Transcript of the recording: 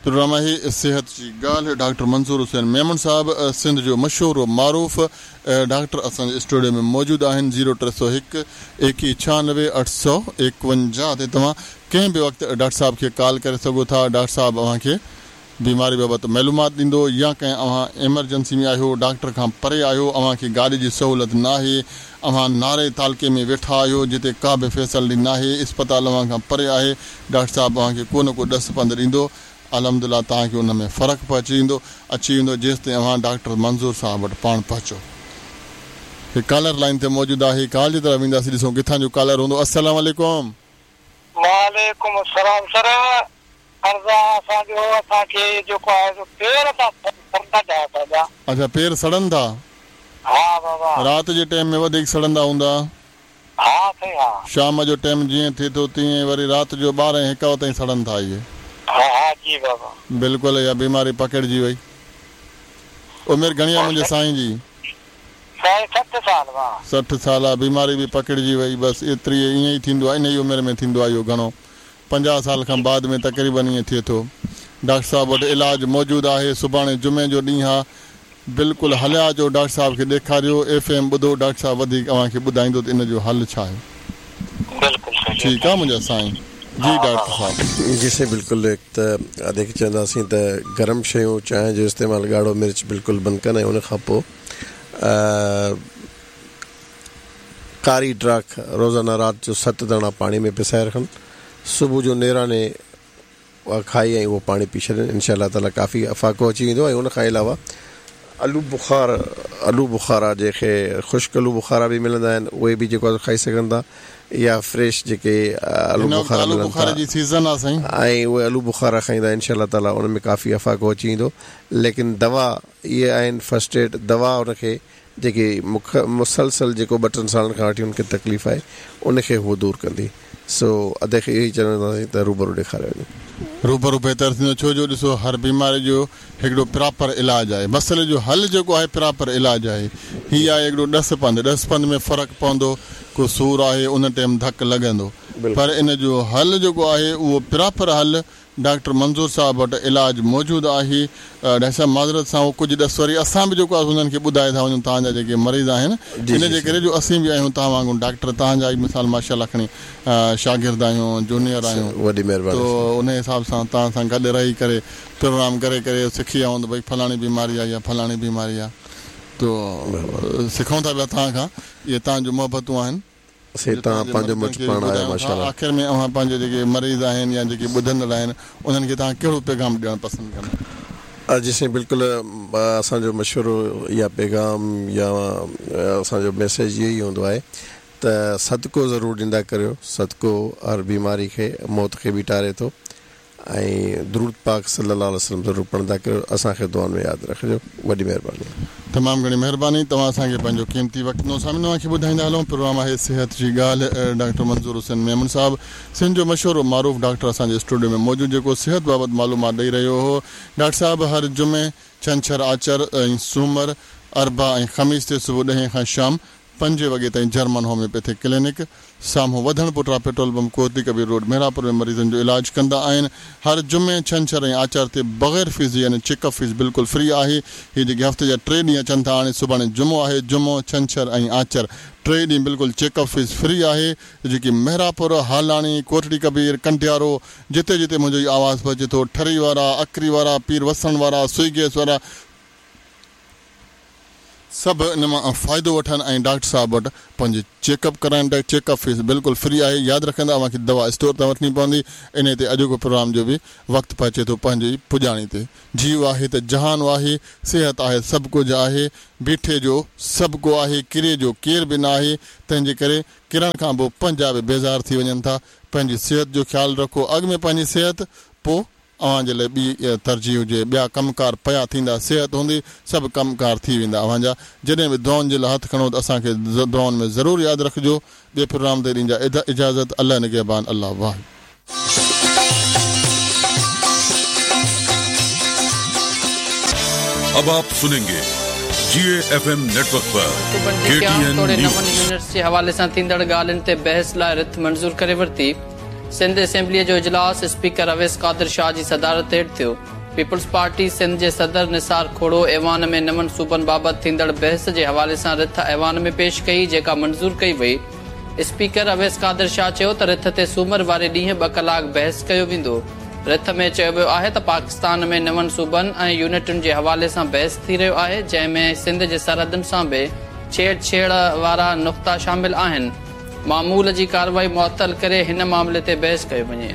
Programme آهي صحت جي ڳالهه ڊاڪٽر منظور حسين ميمڻ صاحب سنڌ جو مشهور و معروف ڊاڪٽر اسان جي اسٽوڊيو ۾ موجود آهن زيرو 301 21 96 851 تي توهان ڪنهن به وقت ڊاڪٽر صاحب کي ڪال ڪري سگهو ٿا ڊاڪٽر صاحب اوهان کي بيماري بابت معلومات ڏيندو يا ڪنهن اوهان ايمرجنسي ۾ آهيو ڊاڪٽر کان پري آهيو اوهان کي گاڏي جي سهولت ناهي اوهان ناري تعلقي ۾ ويٺا آهيو جتي ڪا به فيسلٽي ناهي اسپتال اوهان کان پري آهي ڊاڪٽر صاحب اوهان کي ڪو نه ڪو ڏس پنڌ ڏيندو الحمدلله توهان کي ان ۾ فرق پهچي ويندو اچي ويندو جيستائين اوهان ڊاڪٽر منظور صاحب وٽ پاڻ پهچو. هي ڪالر لائين تي موجود آهي ڪال جي طرف وينداسين ڏسون ڪٿان جو ڪالر هوندو السلام عليڪم. وعليڪم السلام سر عرض آ اسان جو اسان کي جيڪو آهي سو پير ٿا سڙن ٿا اسان جا. اڇا پير سڙن ٿا. ها بابا. رات جي ٽيم ۾ وڌيڪ سڙندا هوندا. ها سائين ها. شام جو ٽيم جيئن ٿئي ٿو تيئن وري رات جو ٻارهين هڪ تائين سڙن ٿا اهي. ها ها جي بابا. بلڪل اها بيماري پڪڙجي وئي. عمر گهڻي آ منهنجي سائين جي. سائين 60 سال وا. 60 سال آ بيماري به پڪڙجي وئي بس ايتري ائين ئي ٿيندو آ انهي عمر ۾ ٿيندو آ اهو گهڻو 50 سال کان بعد ۾ تقريبن ائين ٿئي ٿو ڊاڪٽر صاحب وٽ علاج موجود آهي سڀاڻي جمعي جو ڏينهن آ بلڪل هليا اچو ڊاڪٽر صاحب کي ڏيکاريو ايف ايم ٻڌو ڊاڪٽر صاحب وڌيڪ اوهان کي ٻڌائيندو ته ان جو حل ڇا آهي. بلڪل صحيح ٺيڪ آ منهنجا سائين جي ڊاڪٽر صاحب. جي سائين بلڪل هڪ ته ادي کي چونداسين ته گرم شيون چانهه جو استعمال ڳاڙهو مرچ بلڪل بند ڪن ۽ ان کان پوء ڪاري ڊاک روزانه رات جو ست داڻا پاڻي ۾ پسائي رکن صبح جو نيراني اها کائي ۽ اهو پاڻي پي ڇڏين انشاء الله تعالي ڪافي افاقو اچي ويندو ۽ ان کان علاوه الو بخار الو بخارا جنهن کي خشڪ الو بخارا به ملندا آهن اهي به جيڪو آهي کائي سگهن ٿا يا فريش جيڪي الو هن وقت بخارا آلو ملن ٿا بخاري جي سيزن آ سائين. ۽ اهي الو بخارا کائيندا انشاء الله تعالي ان ۾ ڪافي افاقو اچي ويندو ليڪن دوا اهي آهن فرسٽ ايڊ دوا ان کي جيڪي مک مسلسل جيڪو ٻه ٽن سالن کان وٺي ان کي تڪليف آهي ان کي هو دور ڪندي سو ادي کي اهو ئي چونداسين ته روبرو ڏيکاريو وڃي. روبرو بهتر ٿيندو ڇو جو ڏسو هر بيماري جو هڪڙو پراپر علاج آهي مسئلي جو حل جيڪو آهي پراپر علاج آهي هي آهي هڪڙو ڏس پنڌ ڏس پنڌ ۾ فرق پوندو ڪو سور آهي ان ٽيم ڌڪ لڳندو پر ان جو حل جيڪو آهي اهو پراپر حل ڊاڪٽر منظور صاحب وٽ علاج موجود آهي. ڊاڪٽر صاحب معذرت سان اهو ڪجهه ڏس وري اسان به جيڪو آهي انهن کي ٻڌائي ٿا وڃون توهان جا جيڪي مريض آهن ان جي ڪري جو اسين به آهيون توهان وانگر ڊاڪٽر توهان جا ئي مثال ماشاء الله کڻي شاگرد آهيون جونيئر آهيون وڏي مهرباني تو ان حساب سان توهان سان گڏ رهي ڪري پروگرام ڪري ڪري سکي ويا آهيون ته ڀئي فلاڻي بيماري آهي يا فلاڻي بيماري آهي تو سکون ٿا پيا توهان کان اهي توهان جون محبتون آهن. سي توهان پنهنجو مٽ پاڻ آهيو ماشاءالله. آخر ۾ اوهان پنهنجي جيڪي مريض آهن يا جيڪي ٻڌندڙ آهن انهن کي توهان ڪهڙو پيغام ڏيڻ پسند ڪندا؟ جي سائين بلڪل اسان جو مشورو يا پيغام يا اسان جو ميسيج اهو ئي هوندو آهي ته صدقو ضرور ڏيندا ڪريو صدقو هر بيماري کي موت کي به ٽاري ٿو ۽ درود پاڪ صلي الله عليه وسلم ضرور پڙهندا ڪريو اسان کي دعائن ۾ ياد رکجو وڏي مهرباني. تمام گهڻي مهرباني توهان اسان کي پنهنجو قيمتي وقت ڏنو سامعين اوهان کي ٻڌائيندا هلون پروگرام آهي صحت جي ڳالهه ڊاڪٽر منظور حسين ميمڻ صاحب سنڌ جو مشهور و معروف ڊاڪٽر اسان جي اسٽوڊيو ۾ موجود جيڪو صحت بابت معلومات ڏئي رهيو هو ڊاڪٽر صاحب هر جمعي ڇنڇر آچر ۽ سومر اربع ۽ خميس تي صبح ڏهين کان شام پنجين وڳي تائين جرمن هوميوپيٿڪ ڪلينڪ سامهون وڌڻ پٽرا petrol pump Kotri Kabir road Mehrapur ۾ مريضن جو علاج ڪندا آهن هر جمعي ڇنڇر ۽ آچر تي بغير فيس جي يعني چيڪ اپ فيس بلڪل فري آهي هي جيڪي هفتي جا ٽي ڏينهن اچن ٿا هاڻي سڀاڻي جمعو آهي جمعو ڇنڇر ۽ آچر ٽي ڏينهن بلڪل چيڪ اپ فيس فري آهي جيڪي مهراپور هالاڻي ڪوٽڙي ڪبير ڪنڊيارو جتي جتي منهنجو هي آواز پهچي ٿو ٺري وارا اڪري وارا پير وسڻ وارا سوئي گيس وارا سڀ ان مان فائدو وٺن ۽ ڊاڪٽر صاحب وٽ پنهنجي چيڪ اپ ڪرائن ته چيڪ اپ فيس بلڪل فري آهي ياد رکندا اوهان کي دوا اسٽور تان وٺڻي پوندي انهي تي اڄوڪو پروگرام جو به وقت پهچي ٿو پنهنجي پڄاڻي تي جيء آهي ته جهان آهي صحت آهي سڀ ڪجهه آهي بيٺي جو سڀ ڪو آهي ڪري جو ڪير به نه آهي تنهن جي ڪري ڪرڻ کان پوء پنهنجا به بيزار ٿي وڃن ٿا پنهنجي صحت جو خيال رکو اڳ ۾ پنهنجي صحت پوء اوهان جي لاء ٻي ترجيح هجي، ٻيا ڪم ڪار پيا ٿيندا، صحت هوندي، سڀ ڪم ڪار ٿي ويندا اوهان جا، جڏهن به دعائن جي لاء هٿ کڻو ته اسان کي دعائن ۾ ضرور ياد رکجو، ٻئي پروگرام تائين ڏينجا اجازت، الله نگهبان، الله واهي. اب آپ سنينگي جي اي ايف ايم نيٽ ورڪ پر منصوبن جي ڪي ٽي قيام اين توڙي نون نيوز. يونٽس جي حوالي سان ٿيندڙ ڳالهين تي بحث لاء رٿ منظور ڪري ورتي. سنڌ اسيمبليء جو اجلاس اسپيڪر اويس قادر شاهه جي صدارت هيٺ ٿيو. پيپلز پارٽي سنڌ جي صدر نثار کهڙو ايوان ۾ نون صوبن بابت ٿيندڙ بحث جي حوالي سان رٿ ايوان ۾ پيش ڪئي جيڪا منظور ڪئي وئي. اسپيڪر اويس قادر شاهه چيو ته رٿ تي سومر واري ڏينهن ٻه ڪلاڪ بحث ڪيو ويندو. رٿ ۾ چيو ويو آهي ته پاڪستان ۾ نون صوبن ۽ يونٽن جي حوالي سان بحث ٿي رهيو آهي جنهن ۾ سنڌ جي سرحدن سان به ڇيڙ ڇيڙ وارا نقطا شامل آهن. معمول جي ڪارروائي معطل ڪري هن معاملي تي بحث ڪيو وڃي.